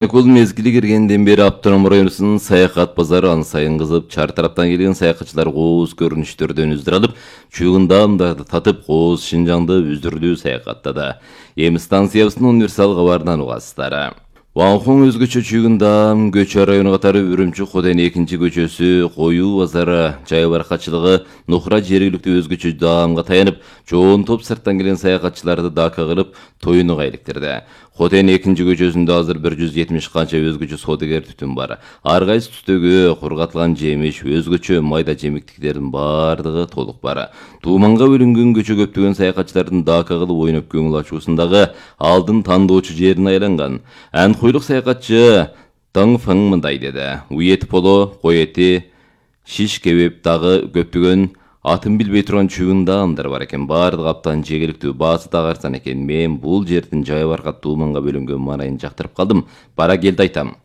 Каникул мезгили киргенден бери Автоном районунун саякат базары ан сайын кызып, чар тараптан келген саякатчылар кооз көрүнүштөрдөн үздүр алып, чүйгүндамдарды татып, кооз Шинжаңды үздүрлүү саякаттады. Эми станциябыздын универсал кабарынан угасыздар. Ванхон өзгөчө чүйгүндам, Көчө району катары Үрүмчү Коден 2-көчөсү, Коюу базары, жай баракчылыгы, Нухра жергиликтүү өзгөчө даамга таянып, жоон топ сырттан келген саякатчыларды дака кылып, тоюнуга иликтирди. Коден 2-көчөсүндө азыр 170 канча өзгөчө соодагер түтүн бар. Ар кайсы түстөгү кургатылган жемиш, өзгөчө майда жемиктиктердин бардыгы толук бар. Тууманга бөлүнгөн көчө көптөгөн саякатчылардын дака кылып ойноп көңүл ачуусундагы алдын тандоочу жерине айланган. Анхойлук саякатчы Дың Фың мындай деди. Ует поло, кой эти, шиш кебеп дагы көптөгөн атын билбей турган чүйгүндаамдар бар экен. Бардык аптан жегиликтүү баасы дагы арзан экен. Мен бул жердин жай баркат тууманга бөлүнгөн маанайын жактырып калдым. Бара келди айтам.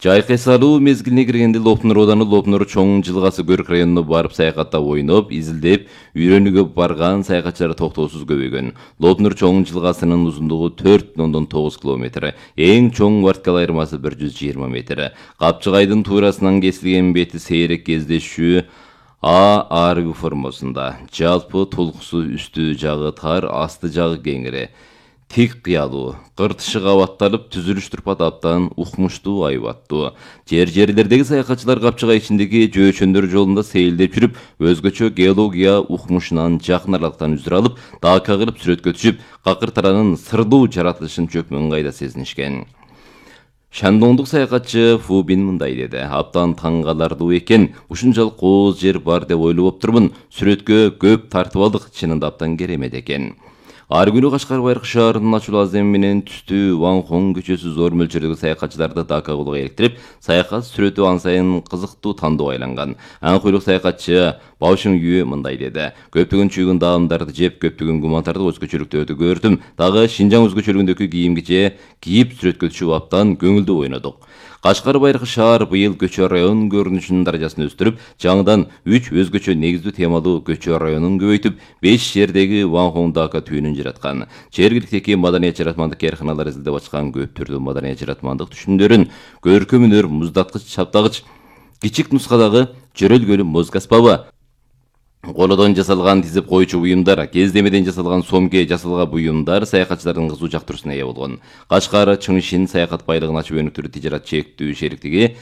Жайкы салуу мезгилине киргенде Лопнур ооданы Лопнур чоң жылгасы Көрк районуна барып саякатта ойноп, изилдеп, үйрөнүүгө барган саякатчылар токтоосуз көбөйгөн. Лопнур чоң жылгасынын узундугу 4,9 км, эң чоң варткал айырмасы 120 метр. Капчыгайдын туурасынан кесилген бети сейрек кездешүү арб формасында. Жалпы толкусу үстү жагы тар, асты жагы кеңири. Тик кыялуу, кыртышы кабатталып, түзүлүш турпат аптан укмуштуу айбаттуу. Жерлердеги саякатчылар капчыгай ичиндеги жөөчөндөр жолунда сейилдеп жүрүп, өзгөчө геология укмушунан жакын аралыктан үзүр алып, дака кылып сүрөткө түшүп, какыр таранын сырдуу жаратылышын чөкмөн кайда сезинишкен. Шандоңдук саякатчы Фубин мындай деди. Аптан таң калардуу экен, ушунчалык кооз жер бар деп ойлоп оптурмун. Сүрөткө көп тартып алдык, чынында аптан керемет экен. Ар күнү Кашкар Байыркы шаарынын ачуу аземи менен түстүү Ванхон көчөсү зор мөлчөрдөгү саякатчыларды дака кылууга иликтирип, саякат сүрөтү ан сайын кызыктуу тандоо айланган. Анхойлук саякатчы Баушың Үй мындай деди. Көптөгөн чүйгүндаамдарды жеп, көптөгөн гумантарды өзгөчөлүктөрдү көрдүм. Дагы Шинжаң өзгөчөлүгүндөгү кийимгиче кийип сүрөткө түшүп аптан көңүлдүү ойнодук. Кашкар Байыркы шаар быйыл Көчө районунун көрүнүшүнүн даражасын өстүрүп, жаңыдан 3 өзгөчө негиздүү темалуу Көчө районун көбөйтүп, 5 жердеги Ванхон дака түйүнүн жараткан. Жергиликтеги маданият жаратмандык кээрканалар изилдеп ачкан көп түрдүү маданият жаратмандык түшүмдөрүн көркөм өнөр, муздаткыч, чаптагыч, кичик нускадагы жөрөлгөлүү моз аспабы, колодон жасалган тизип койчу буюмдар, кездемеден жасалган сомке жасалган буюмдар саякатчылардын кызуу жактыруусуна ээ болгон. Кашкар Чыңшин саякат байлыгын ачып өнүктүрүү тижарат чектүү шериктиги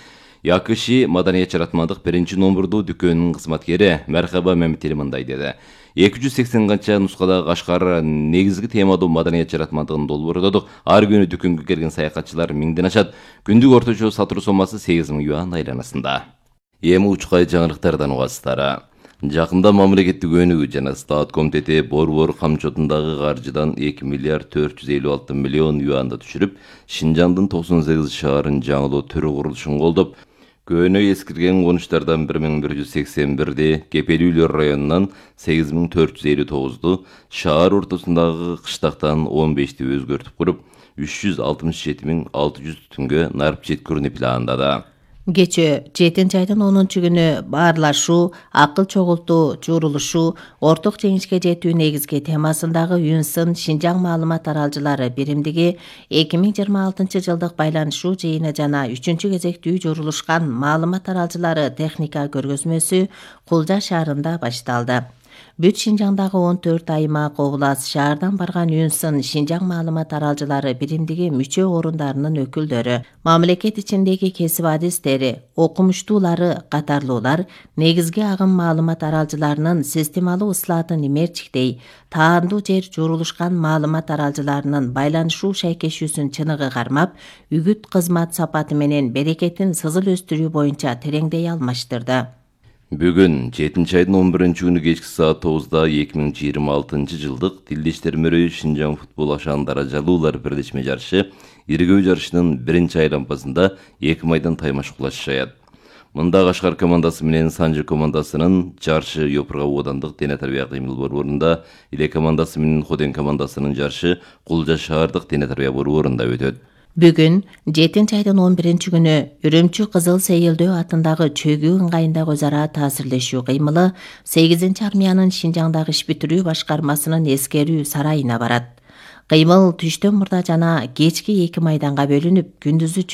Якыши маданият жаратмандык 1-номурдуу дүкөнүнүн кызматкери Мархаба Мамители мындай деди. 280 канча нускадагы Кашкар негизги темадуу маданият жаратмандыгын долбоордодук. Ар күнү дүкөнгө келген саякатчылар 1000ден ашат. Күндүк орточо сатуу сомасы 8000 юан айланасында. Эми учкай жаңылыктардан угасыздар. Жакында мамлекеттик өнүгүү жана стат комитети Борбор камчотундагы каржыдан 2 миллиард 456 миллион юанды түшүрүп, Шинжаңдын 98 шаарын жаңылоо түрү курулушун колдоп, көөнө эскирген конуштардан 1181ди, Кепелүүлөр районунан 8459ду, шаар ортосундагы кыштактан 15ти өзгөртүп куруп, 367.600 түтүнгө нарп жеткирүүнү пландады. Кечээ 7 айдын 10 күнү баарлашуу, акыл чогултуу, журулушуу, орток жеңишке жетүү негизги темасындагы Үнсын Шинжаң маалымат аралжылары биримдиги 2026 жылдык байланышуу жыйыны жана 3-кезектүү журулушкан маалымат аралжылары техника көргөзмөсү Кулжа шаарында башталды. Бүт Шинжаңдагы 14 аймак, област, шаардан барган Үнсын Шинжаң маалымат аралжылары биримдиги мүчө орундарынын өкүлдөрү, мамлекет ичиндеги кесип адистери, окумуштуулары катарлуулар негизги агым маалымат аралжыларынын системалуу ыслаатын имерчиктей, таандуу жер журулушкан маалымат аралжыларынын байланышуу шайкешүүсүн чыныгы кармап, үгүт кызмат сапаты менен берекетин сызыл өстүрүү боюнча тереңдей алмаштырды. Бүгүн 7 айдын 11 күнү кечки саат 9-да 2026 жылдык Тилдештер мөрөй Шинжаң футбол ашаан даражалуулар бирлешме жарышы иргөө жарышынын 1-айлампасында 2 майдан таймаш кулашышат. Мында Кашкар командасы менен Санжы командасынын жарышы Йопурга оодандык дене тарбия кыймыл борборунда, Иле командасы менен Ходен командасынын жарышы Кулжа шаардык дене тарбия борборунда өтөт. Бүгүн 7 айдын 11 күнү Үрүмчү Кызыл Сейилдөө атындагы чөгүү ыңгайындагы өз ара таасирлешүү кыймылы 8-армиянын Шинжаңдагы иш бүтүрүү башкармасынын эскерүү сарайына барат. Кыймыл түштөн мурда жана кечки 2 майданга бөлүнүп, күндүзү